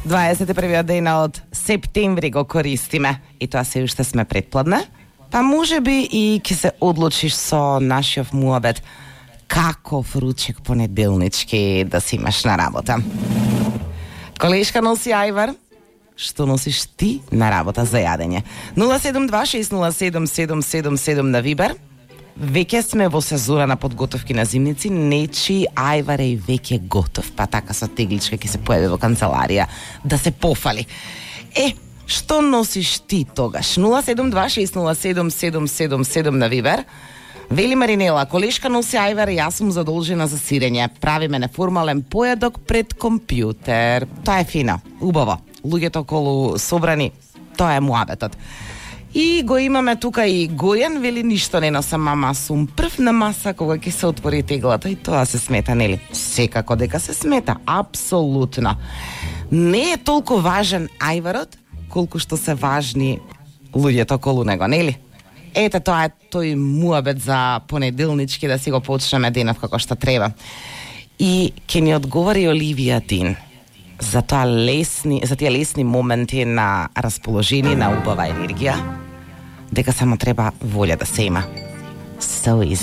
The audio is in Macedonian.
21 ден од септември го користиме и тоа се уште сме предпладне, па можеби и ќе се одлучиш со нашиот муабет каков ручек понеделнички да си имаш на работа. Колешка носи ајвар, што носиш ти на работа за јадење? 072607777 на Вибер. Веќе сме во сезона на подготовки на зимници, нечи ајвар е веќе готов, па така со тегличка ќе се појави во канцеларија да се пофали. Што носиш ти тогаш? 072607777 на Вибер. Вели Маринела, колешка носи ајвар и јас сум задолжена за сирење. Правиме неформален појадок пред компјутер. Тоа е фино, убаво. Луѓето околу собрани, тоа е муабетот. И го имаме тука и Гојан, вели ништо не носам, мама, сум прв на маса кога ќе се отвори теглата и тоа се смета, нели? Секако дека се смета, апсолутно. Не е толку важен ајварот, колку што се важни луѓето околу него, нели? Ете, тоа е тој муабет за понеделнички да си го почнеме денов како што треба. И ќе ни одговори Оливија Дин за тие лесни моменти на расположение, на убава енергија, дека само треба волја да се има. So easy.